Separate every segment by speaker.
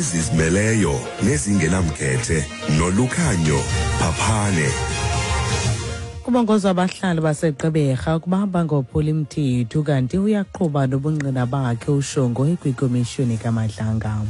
Speaker 1: Ezizimeleyo nezingenamkhethe nolukhanyo phaphane.
Speaker 2: Kubongozwa abahlali baseGqeberha ukuba bangophuli mthetho kanti uyaqhuba nobungqina bakhe uShongo kwikomishoni kaMadlanga.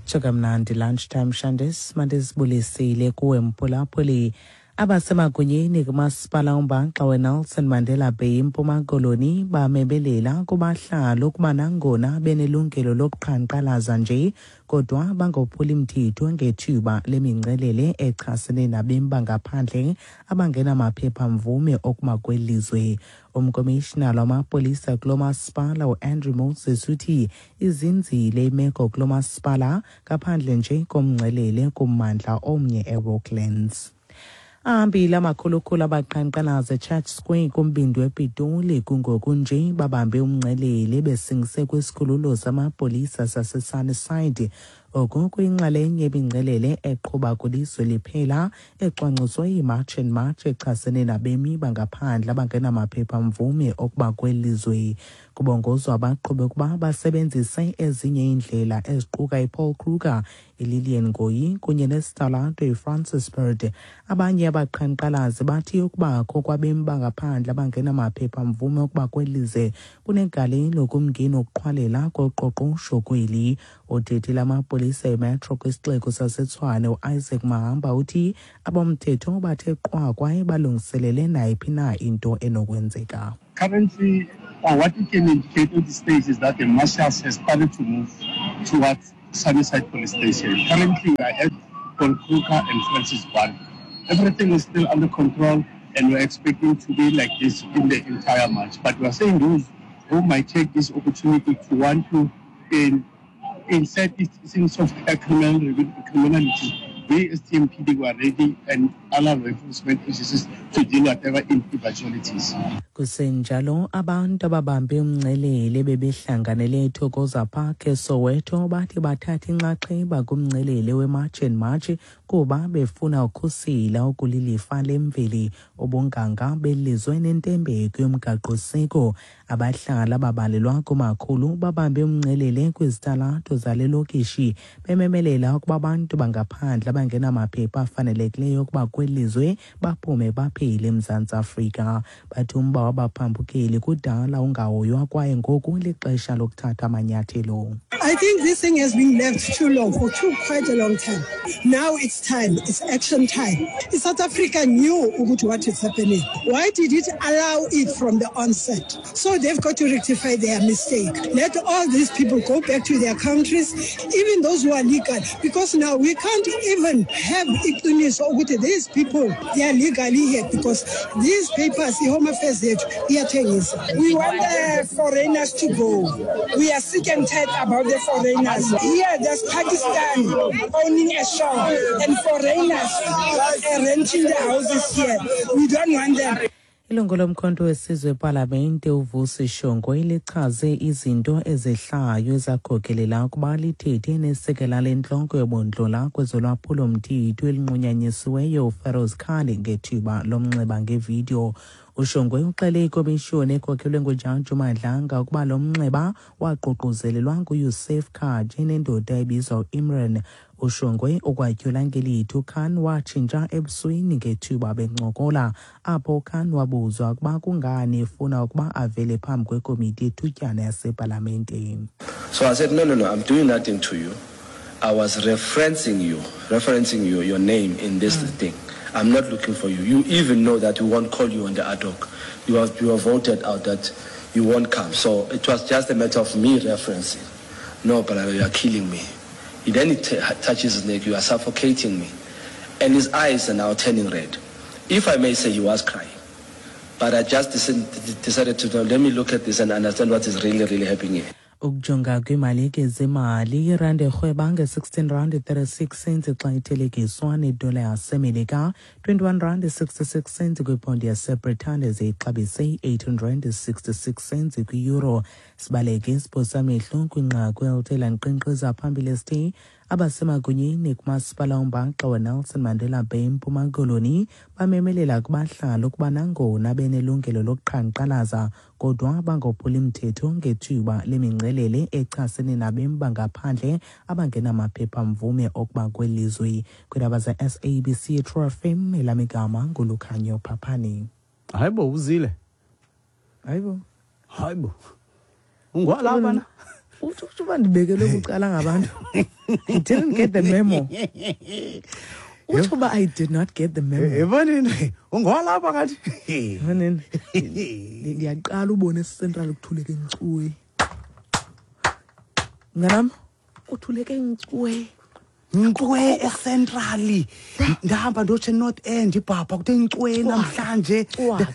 Speaker 2: Tsho kamnandi lunchtime Shandis mandizibulisile kuwe mphulaphuli. Abasemagunyeni kumasipala umbaxa weNelson Mandela Bay eMpuma Koloni bamebelela kubahlali ukuba nangona benelungelo lokuqhankqalaza nje kodwa bangophuli mthetho ngethuba lemingcelele echasene nabemi bangaphandle abangenamaphepha-mvume okuma kweli lizwe. Umkomishinala wamapolisa kulo masipala uAndrew Moses uthi izinzile imeko kulo masipala ngaphandle nje komngcelele kummandla omnye eRocklands. Ahambile amakhulukhulu abaqhankqalaza eChurch Square kumbindi wePitoli kungoku nje babambe umngcelele besingise kwisikhululo samapolisa saseSunnyside. Oku kuyinxalenye yemingcelele eqhuba kwilizwe liphela ecwangciswe yiMarch and March echasene nabemi bangaphandle abangenamaphepha-mvume okuba kweli lizwe. Kubongozwa abaqhubi ukuba basebenzise ezinye iindlela eziquka iPaul Kruger, iLillian Ngoyi kunye nesitalato iFrancis Bird. Abanye abaqhankqalazi bathi ukubakho kwabemi bangaphandle abangenamaphepha-mvume okuba kweli lizwe kunegalelo kumngeni wokuqhwalela koqoqosho kweli. Othethela amapolisa eMetro kwisixeko saseTshwane uIsaac Mahamba uthi abomthetho bathe qwa kwaye balungiselele nayiphi na into enokwenzeka.
Speaker 3: Currently, what we can indicate at this stage is that the marshals has started to move towards Sunnyside Police Station. Currently, we are at Paul Kruger and Francis Barry. Everything is still under control and we're expecting to be like this in the entire march. But we are saying those who might take this opportunity to want to insert things of criminal, criminality, we as TMPD were ready and other law enforcement agencies to deal whatever eventualities.
Speaker 2: Kusenjalo abantu ababambe umngcelele bebehlanganele eThokoza Park eSoweto bathi bathatha inxaxheba kumngcelele weMarch and March kuba befuna ukhusela okulilifa lemveli ubunganga belizwe nentembeko yomgaqosiko. Abahlali ababalelwa kumakhulu babambe umngcelele kwizitalato zale lokishi bememelela ukuba abantu bangaphandle abangenamaphepha afanelekileyo ukuba kweli lizwe baphume baphele eMzantsi Afrika. Bathi umba wabaphambukeli kudala ungahoywa kwaye ngoku lixesha lokuthatha amanyathelo.
Speaker 4: I think this thing has been left too long, for too quite a long time. Now it's time, it's action time. South Africa knew what is happening. Why did it allow it from the onset? So they've got to rectify their mistake. Let all these people go back to their countries, even those who are legal, because now we can't even have iqiniso ukuthi these people, they are legally here because these papers, i-Home Affairs yethu iyathengisa.
Speaker 5: We want the foreigners to go. We are sick and tired about the foreigners. Here there's Pakistan owning a shop and foreigners are renting the houses here. We don't want them.
Speaker 2: Ilungu lomkhonto wesizwe epalamente uVusi Shongwe lichaze izinto ezehlayo ezakhokelela ukuba lithethe nesekela lentloko yobundlola kwezolwaphulo-mthetho elinqunyanyisiweyo uFeroz Khan ngethuba lomnxeba ngevidiyo. UShongwe uxele ikomishoni ekhokelwe nguJaji uMadlanga ukuba lo mnxeba waququzelelwa nguYusuf Kaji nendoda ebizwa uImran. UShongwe ukwatyhula ngelithi uKhan watshintsha ebusweni ngethuba bencokola, apho uKhan wabuzwa ukuba kungani efuna ukuba avele phambi kwekomiti yethutyana yasepalamente.
Speaker 6: So I said, no, no, no, I'm doing nothing to you. I was referencing you, referencing you, your name in this thing. I'm not looking for you. You even know that we won't call you on the ad hoc. You have voted out that you won't come. So it was just a matter of me referencing. No, but you are killing me. Then he touches his neck, you are suffocating me. And his eyes are now turning red. If I may say, he was crying. But I just decided to, let me look at this and understand what is really, really happening here.
Speaker 2: Ukujonga kwiimalike zemali, irandi erhweba nge-16 rand 36 cents xa ithelekiswa nedola yaseMelika, 21 rand 66 cents kwiphondi yaseBritane, ze ixabise i-866 cents kwi-euro. Sibaleke isiphosamehlo kwinqaku elithe lanqinqiza phambili esithi Abasemagunyeni kumasipala ombaxa weNelson Mandela Bay eMpuma Koloni bamemelela kubahlali ukuba nangona benelungelo lokuqhankqalaza, kodwa bangophuli mthetho ngethuba lemingcelele echasene nabemi bangaphandle abangenamaphepha-mvume okuba kweli lizwe. Kwiindaba ze-SABC True FM, elam igama nguLukhanyo Phaphani.
Speaker 7: Hayibo, uzile.
Speaker 2: Hayibo.
Speaker 7: Hayibo, ungwalapha na?
Speaker 2: Utsho uba ndibekelwe bucala ngabantu. I didn't get the memo. Utsho uba I did not get the memo.
Speaker 7: Ebonini, ungwalapha kathi.
Speaker 2: Ebonini, ndiyaqala ubona eCentral kuthuleke nkcuwe. Mnganam, kuthuleke nkcuwe.
Speaker 7: Nkcwe eCentral. Ndahamba ndotsho eNorth End, ibhabha kuthe nkcwe namhlanje.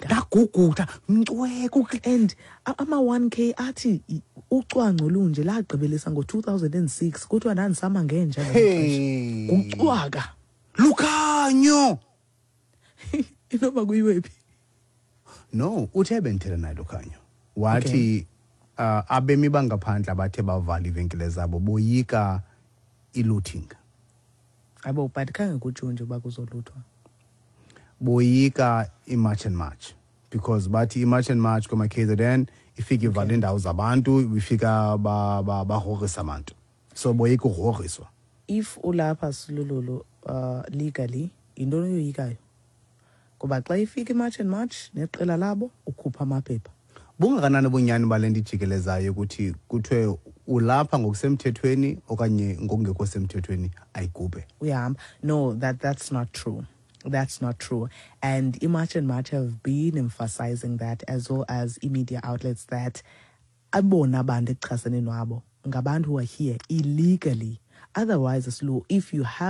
Speaker 7: Ndaguguda nkcwe.
Speaker 2: And ama-1K athi ucwangco lunje lagqibelisa ngo-2006, kuthiwa ndandisama ngenja. Kucwaka.
Speaker 7: Lukhanyo.
Speaker 2: Inoba kuyiwe phi?
Speaker 7: No, uthe bendithetha naye Lukhanyo, wathi abemi bangaphandle abathe bavala iivenkile zabo boyika i-looting.
Speaker 2: Abo, but khange kutshiwo nje uba kuzoluthwa.
Speaker 7: Boyika i-March and March because bathi i-March and March kwama-KZN ifika ivale iindawo zabantu, ifika bagrogrisa abantu, so boyika ugrogriswa.
Speaker 2: If ulapha, Silululu, legally, yintoni oyoyikayo? Ngoba xa ifika i-March and March neqela labo, ukhupha amaphepha.
Speaker 7: Bungakanani ubunyani bale nto ijikelezayo ukuthi kuthiwe ulapha ngokusemthethweni okanye ngokungekho semthethweni, ayigubhe?
Speaker 2: Uyahamba. No, that's not true. That's not true. And iMarch and March have been emphasizing that, as well as i-media outlets, that abona abantu ekuchasene nwabo ngabantu who are here illegally. Otherwise, Slu, if you have